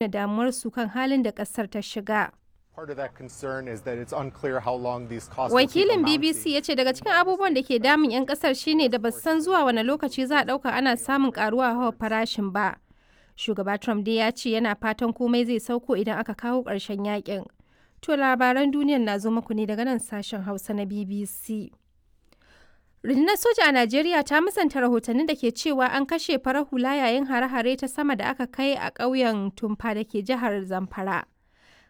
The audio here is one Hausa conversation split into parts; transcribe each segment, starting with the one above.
Nuna damuwarsu kan halin da ƙasar ta shiga. Part of that concern is that it's unclear how long these costs will keep Wakilin BBC amounting. ya ce daga cikin abubuwan da ke damun 'yan kasar shine da basu san zuwa wane lokaci za a ɗauka ana samun karuwa hawa farashin ba. Shugaba Trump dai ya ce yana fatan komai zai sauko idan aka kawo ƙarshen yakin. To labaran duniyar na zo muku ne daga nan sashen Hausa na BBC. Rundunar soja a Najeriya ta musanta rahotannin da ke cewa an kashe farar hula yayin hare-hare ta sama da aka kai a ƙauyen Tumfa da ke jihar Zamfara.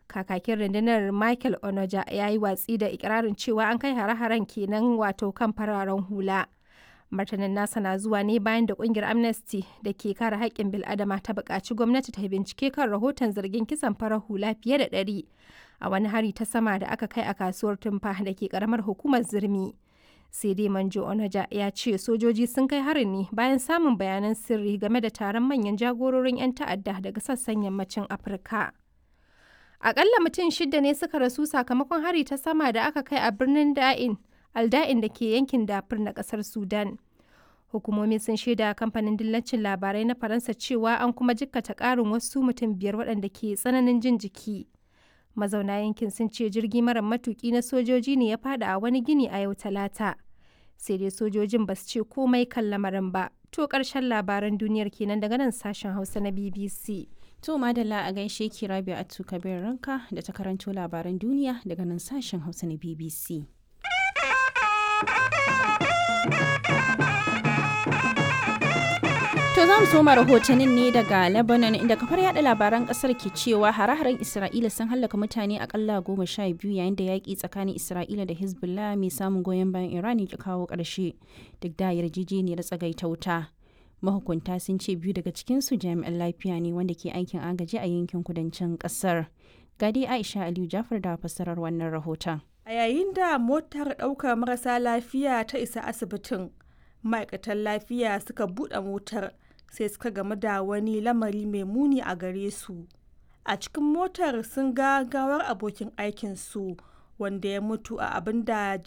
Kakakin rundunar Michael Onoja ya yi watsi da ikirarin cewa an kai hare-haren kenan wato kan fararen hula. Martanin nasa na zuwa ne bayan da kungiyar Amnesty da ke kare haƙƙin bil'adama ta buƙaci gwamnati ta bincike kan rahoton zargin kisan farar hula fiye da 100 a wani hari ta sama da aka kai a kasuwar Tumfa da ke ƙaramar hukumar Zurmi. Sai dai Manjo Onoja ya ce sojoji sun kai harin ne bayan samun bayanan sirri game da taron manyan jagororin 'yan ta'adda daga sassan yammacin Afirka. Akalla mutum shida ne suka rasu sakamakon hari ta sama da aka kai a birnin Da'in, Alda'in da ke yankin Dafur na kasar Sudan. Hukumomi sun shaida kamfanin dillacin labarai na Faransa cewa an kuma jikkata ƙarin wasu mutum 5 waɗanda ke tsananin jin jiki. Mazauna yankin sun ce jirgi mara matuki na sojoji ne ya fada a wani gini a yau Talata. Sai dai sojojin ba su ce komai kan lamarin ba. To ƙarshen labaran duniyar kenan daga nan sashen Hausa na BBC. To madalla a gaishe ki Rabi'atu Kabir Ranka da ta karanto labaran duniya daga nan sashen Hausa na BBC. To za mu soma rahotannin ne daga Lebanon inda kafar yada labaran kasar ke cewa hare-haren Isra'ila sun hallaka mutane akalla 12 yayin da yaƙi tsakanin Isra'ila da Hezbollah mai samun goyon bayan Iran ya kawo ƙarshe duk da yarjejeniyar tsagaita wuta. Mahukunta sun ce biyu daga cikinsu jami'an lafiya ne wanda ke aikin agaji a yankin kudancin kasar. Gadi Aisha Aliyu Jafar da fassarar wannan rahoton. A yayin da motar ɗaukar marasa lafiya ta isa asibitin, ma'aikatan lafiya suka buɗe motar sai suka gamu da wani lamari mai muni a gare su. A cikin motar sun ga gawar abokin aikinsu wanda ya mutu a abin da